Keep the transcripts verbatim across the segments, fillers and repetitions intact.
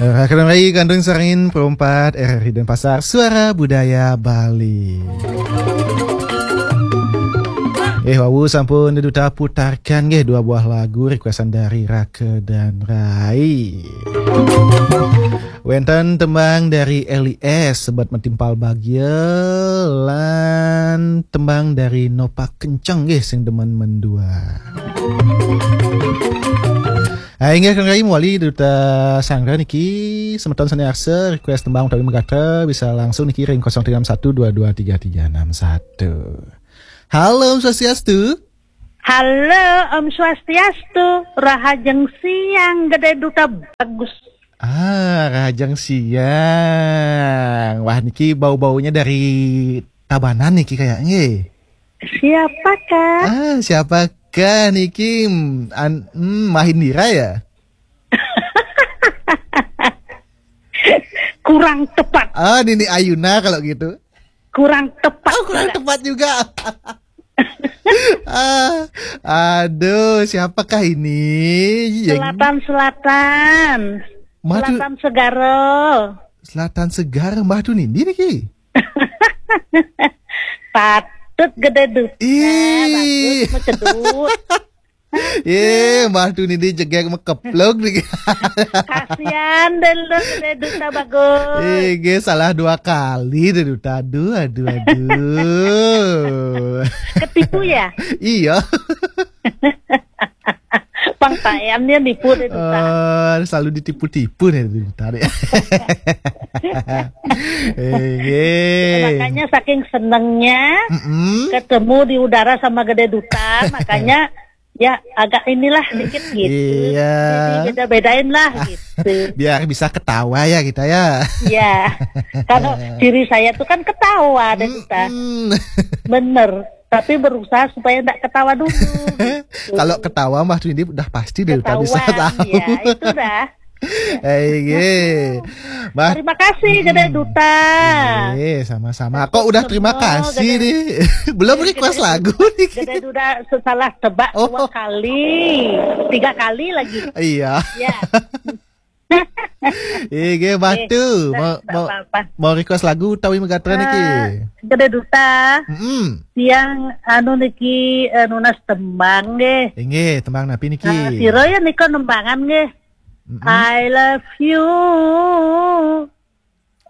Raka dan Rai, Gandrung Sarangin, Perempat, R R I Denpasar, Suara Budaya Bali. Eh, wau sampun Duta putarkan nggih dua buah lagu requestan dari Raka dan Rai. Wenten tembang dari Eli S, Sebat Metimpal Bagia, lan tembang dari Nopak Kenceng nggih sing demen mendua. Ah, inggih kang Rai, mawali Duta Sanggra niki, semeton sane arsa request tembang utawi megatra bisa langsung niki ring kosong tiga enam satu dua dua tiga tiga enam satu. Halo, Om Swastiastu. Halo, Om Swastiastu. Rahajeng siang, Gede Duta Bagus. Ah, Rahajeng siang. Wah, niki bau-baunya dari Tabanan niki kayaknya. Siapakah? Ah, siapakah niki? Hmm, an, hmm, Mahindira ya? Kurang tepat. Ah, Nini Ayuna kalau gitu. Kurang tepat. Oh, kurang juga. Tepat juga. Ah, aduh, siapakah ini? Yang Selatan, Selatan. Madu- Selatan Segara. Selatan Segara, Mbah Tunindi niki. Patut Gede Duta. Ih. Bagus, mecedut. Eh, Mbah Tunindi jegeg mekeplok niki. Kasihan deh lu, Gede Duta Bagus. Eh, nggih, salah dua kali deh Duta. Aduh, aduh, aduh. Ketipu ya? Iya. Pang tayamnya nipu deh Duta. Eh, selalu ditipu-tipu nih Duta nih. Eh, nggih. Makanya saking senengnya Mm-mm. ketemu di udara sama Gede Duta, makanya ya agak inilah dikit gitu. Iya. Jadi beda-bedain lah gitu. Biar bisa ketawa ya kita ya. Ya, kalau diri saya tuh kan ketawa deh Duta. Mm-mm. Bener. Tapi berusaha supaya nggak ketawa dulu. Kalau ketawa Mbah Tunindi udah pasti deh Duta bisa Ketahuan, tahu. Ya, itu dah. Eh, nggih. Mbah. Terima kasih, Gede Duta. Nggih, sama-sama. Kok udah terima kasih nih? Belum request lagu nih. Gede Duta salah tebak Oh. dua kali, tiga kali lagi. Iya. Ya. Iya, nggih, Mbah Tu. Eh, mau, nggak mau, apa-apa. Mau request lagu utawi megatra niki? Eh, Gede Duta. Mm-mm. Tiang anu niki, eh, nunas tembang nggih. Inggih, tembang napi niki? Eh, sira ya nika nembangan nggih. Mm-mm. I love you.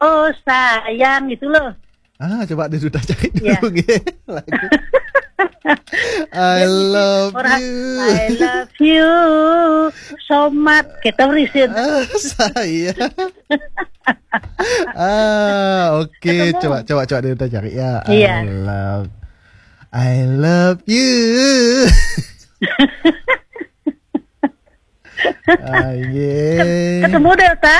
Oh sayang gitu loh. Ah, coba deh Duta cari dulu nggih lagu. I love you. I love you. Somat kita berisin. Ah, saya. Ah, oke. Ketemu. Coba, coba, coba deh Duta cari ya. Iya. I love, I love you. Ah, iya. Ketemu deh, Ta.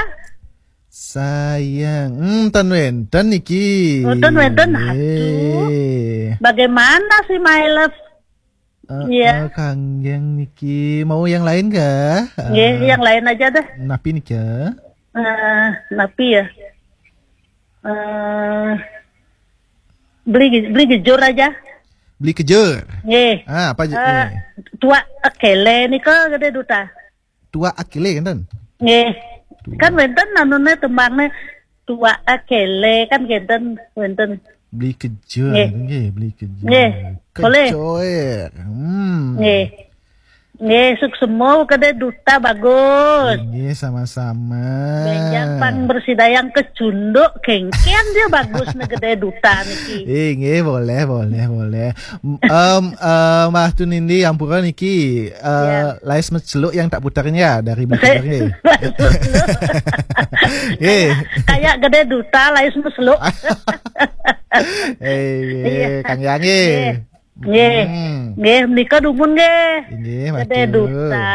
Sayang, hmm, ten wenten niki. Oh, ten wenten, aduh. Nggih. Bagaimana sih, my love? Eh, Iya. eh, kanggeng niki. Mau yang lain kah? Nggih, Eh, yang lain aja deh. Napi niki? Eh, napi ya? Eh, beli, beli jujur aja. Beli kejur. Nggih. Ah, apa je-, Eh, nggih. Tua akele nika Gede Duta. Tua akele, enten? Nggih. Tua. Kan wenten anune tembangnya tua akele kan enten, wenten. Beli kejur, Nggih. Nggih, beli kejur. Nggih, boleh. Kecoer. Hmm. Nggih. Nggih, suksema Gede Duta bagus. Nggih, sama-sama. Benjang pang bersidayang kecunduk, kengken dia bagus nih Gede Duta niki. Eh, nggih, boleh, boleh, boleh. M-, em, eh, Mbah Tunindi, ampura niki, eh, Ya. Lais Meceluk yang tak putarnya dari Beli Saya Kejur, nggih. Nggih. Kayak Gede Duta, Lais Meceluk. Eh, Iya. Kang Yang, nggih. Nggih. Nggih. Hmm. Nggih, menika dumun nggih. Nggih, Gede matur. Duta.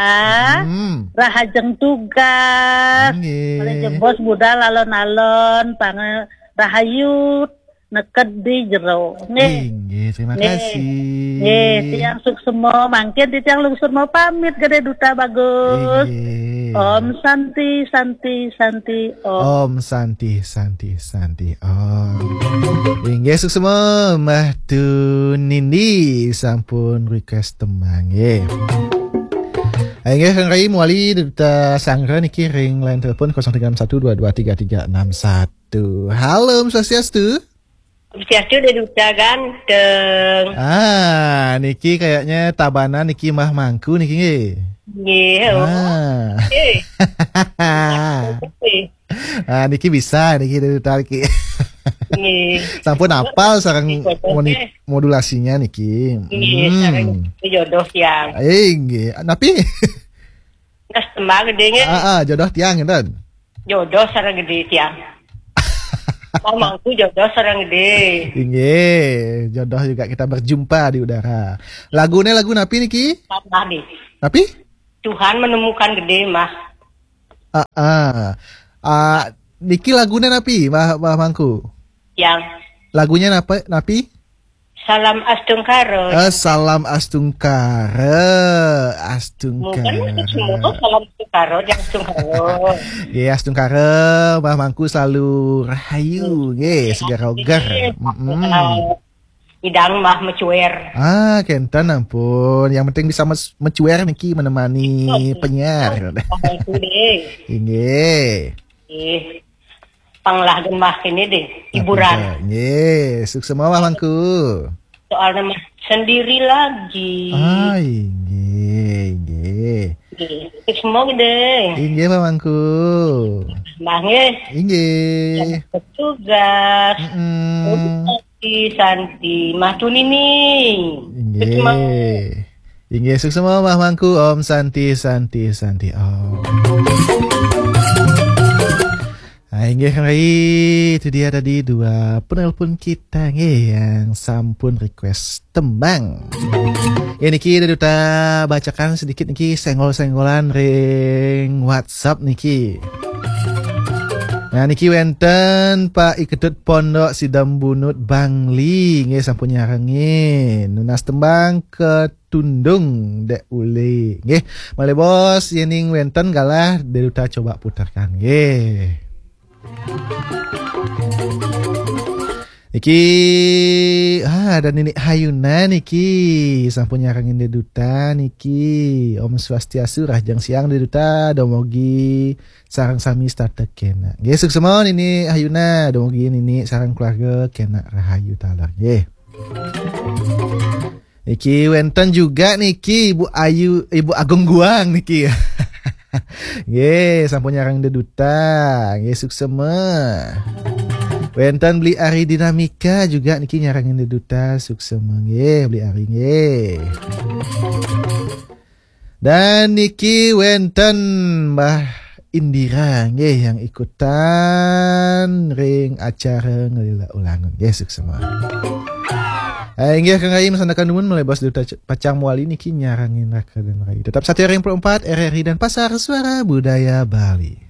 Hmm. Rahajeng tugas. Nggih. Malih jebos budal alon-alon, pang-, rahayu neked di jero. Nggih. Inggih, terima Nggih. kasih. Nggih, tiang suksema, mangkin titiang lungsur mau pamit, Gede Duta bagus. Inggih. Om Santi, Santi, Santi, Om. Om Santi, Santi, Santi, Om. Inggih, suksema, Mbah Tunindi sampun request tembang, nggih. Inggih, Kang Rai, mawali Duta Sanggra niki ring line telepon kosong tiga enam satu dua dua tiga tiga enam satu. Halo, Om Swastiastu. Om Swastiastu, Duta ganteng. Ah, niki kayaknya Tabanan niki Mbah Mangku niki nggih. Nggih, oh. Ah. Eh. Eh. Ah, niki bisa niki Duta niki. Nggih. Sampun apal sareng Nggih, moni-, eh. modulasinya niki. Nggih, Hmm. sareng jodoh tiang. Eh, nggih. Napi? Nas tembang gedé nggih. Ah, ah, jodoh tiang ngenten. Jodoh sareng gedé tiang. Mbah Mangku jodoh sareng gedé. Inggih, jodoh juga kita berjumpa di udara. Lagune lagu napi niki? Tambah nih. Napi? Tuhan menemukan gedé, Mbah. Ah, ah. Ah, niki lagune napi, Mbah, Mbah Mangku? Yang Lagunya napa, napi? Salam Astungkara. Eh, Salam Astungkara. Astungkara. Bukan, semua Salam Astungkara, yang Astungkara. Nggih, Astungkara, Mbah Mangku selalu rahayu, nggih, segar oger. Nggih. Mm-mm. Idang Mbah mecuer. Ah, kenten ampun. Yang penting bisa mes-, mecuer niki menemani Iya. penyiar. Mbah Mangku deh. Inggih. Nggih. Panglah gemah ini deh, hiburan. Apa, nggih, suksema Mbah Mangku. Soalnya mah sendiri lagi. Ah, inggih, inggih. Nggih. Suksema gedé. Inggih, Mbah Mangku. Mbah nggih. Inggih. Selamat bertugas. Mm-mm. Santi, Santi, Mbah Tunini. Inggih. Suksema. Inggih, suksema Mbah Mangku, Om Santi, Santi, Santi, Om. Ah, inggih, Kang Rai, itu dia tadi dua penelpon kita nggih yang sampun request tembang. Ya, niki Duta bacakan sedikit niki senggol-senggolan ring WhatsApp niki. Nah, niki wenten Pak Iketut Pondok Sidembunut Bangli nggih sampun nyarengin. Nunas tembang Ketundung Dek Uli. Nggih, malih bos, yening wenten galah Duta coba putarkan nggih. Niki, ah, ada Nini Hayuna niki. Sampun nyarengin Duta niki. Om Swastiastu, rahajeng siang Duta, dumugi sareng sami setata kena. Nggih, suksema Nini Hayuna, dumugi Nini sareng keluarga kena rahayu taler nggih. Niki wenten juga niki Ibu Ayu, Ibu Agung Guang niki. Nggih, sampun nyarengin Duta. Nggih, suksema. Wenten Beli Ari Dinamika juga niki nyarengin Duta, suksema nggih Beli Ari nggih. Dan niki wenten Mbah Indira nggih yang ikutan ring acara ngelila ulangun. Nggih, suksema. Eh, inggih Kang Rai, masandekan dumun malih bos Duta pacang mawali niki nyarengin Raka dan Rai. Tetap setia ring empat R R I Denpasar, Suara Budaya Bali.